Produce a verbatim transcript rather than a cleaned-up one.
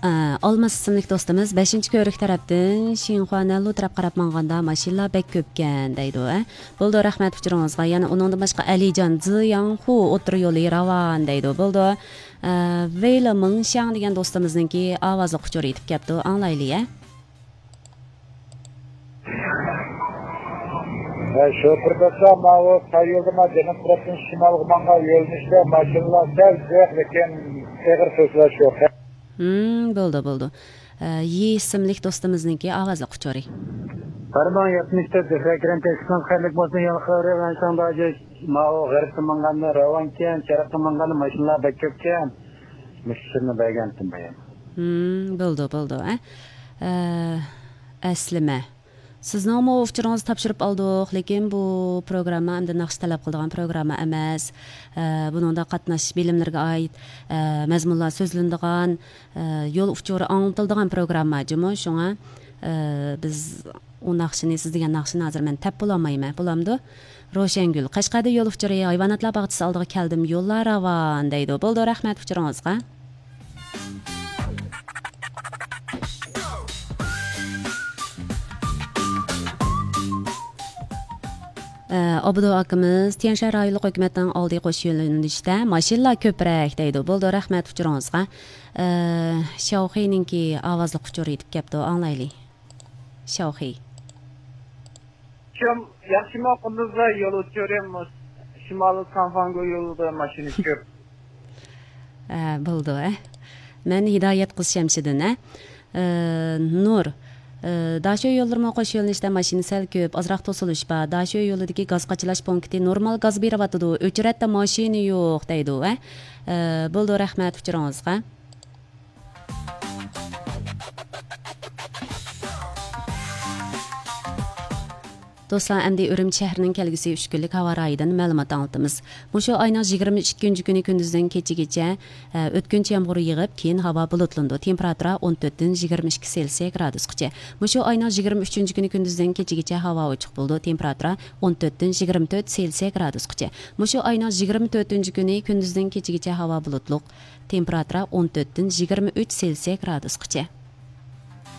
ئالماس ئىسىملىك دوستىمىز بەشىنچى كۆۋرۈك تەرەپتىن شىنخۇا نەنلۇ تەرەپ قاراپ ماڭغاندا ماشىنىلار بەك كۆپكەن دەيدۇ، ھە؟ بولىدۇ، رەھمەت ئۇچۇرىڭىزغا. يەنە ئۇنىڭدىن باشقا ئەلىجان زىياڭخۇ ئوتتۇرا يولى راۋان دەيدۇ. بولىدۇ. ئە، ۋېيلى مىڭشياڭ دېگەن دوستىمىزنىڭكى ئاۋازلىق ئۇچۇرى يېتىپ كەپتۇ. ئاڭلايلى، ھە؟ ھە، شوپۇر دادا، ماۋۇ تايولدىما جەنۇب تەرەپتىن شىمالغا ماڭغان يۆنىلىشتە ماشىنىلار سەل جىق، لېكىن ئېغىر سۆزلەش يوق. ھىم، بولدى، بولدى. ئە، يى ئىسىملىك دوستىمىزنىڭكى ئاۋازلىق ئۇچۇرى. بىر مىڭ يەتمىش تۆت، زۆھرە كىرەم تەكسىكىڭىز خەيرلىك بولسۇن، يالقا خەۋىرى، مەن شاڭداجى، ماۋۇ غەربتە ماڭغاندا راۋانكەن، شەرققە ماڭغاندا ماشىنىلار بەك كۆپكەن. مۇشۇ سىرنى بەرگەنتىم بايام. ھىم، بولدى، بولدى، ئە. ئە، ئەسلىمە. سىزنىڭمۇ ئۇچۇرىڭىزنى تاپشۇرۇپ ئالدۇق، لېكىن بۇ پروگرامما ئەمدى ناخشا تەلەپ قىلىدىغان پروگرامما ئەمەس. ئە، بۇنىڭدا قاتناش بىلىملىرىگە ئائىت، ئە، مەزمۇنلار سۆزلىنىدىغان، ئە، يول ئۇچۇرى ئاڭلىتىلىدىغان پروگرامما جۇمۇ. شۇڭا، ئە، بىز ئۇ ناخشىنى، سىز دېگەن ناخشىنى ھازىر مەن تەپ بولالمايمەن. بولامدۇ؟ روشەنگۈل، قەشقەردە يول ئۇچۇرى ھايۋاناتلار باغچىسى ئالدىغا كەلدىم، يوللار راۋان دەيدۇ. بولدى، رەھمەت ئۇچۇرىڭىزغا. ئە، ئابدۇ ئاكىمىز، تيەنشەن رايونلۇق ھۆكۈمەتنىڭ ئالدى قوش يۆنىلىشتە ماشىنىلار كۆپرەك دەيدۇ. بولدى، رەھمەت ئۇچۇرىڭىزغا. ئە، شياۋخېينىڭكى ئاۋازلىق ئۇچۇرى يېتىپ كەپتۇ، ئاڭلايلى. شياۋخېي. شۇم، ياخشىمۇ قۇندۇزدا يول ئۇچۇرى مۇس-، شىمالىي سانفاڭگو يولىدا ماشىنا كۆپ. ئە، بولدى، ئە. مەن ھىدايەت قىز شەمشىدىن، ئە. ئە، نۇر. ئە، داشۆ يوللىرىمۇ قوش يۆنىلىشتە ماشىنا سەل كۆپ، ئازراق توسۇلۇش بار. داشۆ يولىدىكى گاز قاچىلاش پونكىتى نورمال گاز بېرىۋاتىدۇ، ئۆچرەتتە ماشىنا يوق دەيدۇ، ئە. ئە، بولدى، رەھمەت ئۇچۇرىڭىزغا. دوستلار، ئەمدى ئۈرۈمچى شەھىرىنىڭ كەلگۈسى ئۈچ كۈنلۈك ھاۋا رايىدىن مەلۇمات ئاڭلىتىمىز. مۇشۇ ئاينىڭ يىگىرمە ئىككىنچى كۈنى كۈندۈزدىن كېچىگىچە، ئە، ئۆتكۈنچى يامغۇر يېغىپ، كېيىن ھاۋا بۇلۇتلىنىدۇ. تېمپېراتۇرا ئون تۆتتىن يىگىرمە ئىككى سېلسىيە گرادۇسقىچە. مۇشۇ ئاينىڭ يىگىرمە ئۈچىنچى كۈنى كۈندۈزدىن كېچىگىچە ھاۋا ئوچۇق بولىدۇ. تېمپېراتۇرا ئون تۆتتىن يىگىرمە تۆت سېلسىيە گرادۇسقىچە. مۇشۇ ئاينىڭ يىگىرمە تۆتىنچى كۈنى كۈندۈزدىن كېچىگىچە ھاۋا بۇلۇتلۇق. تېمپېراتۇرا ئون تۆتتىن يىگىرمە ئۈچ سېلسىيە گرادۇسقىچە.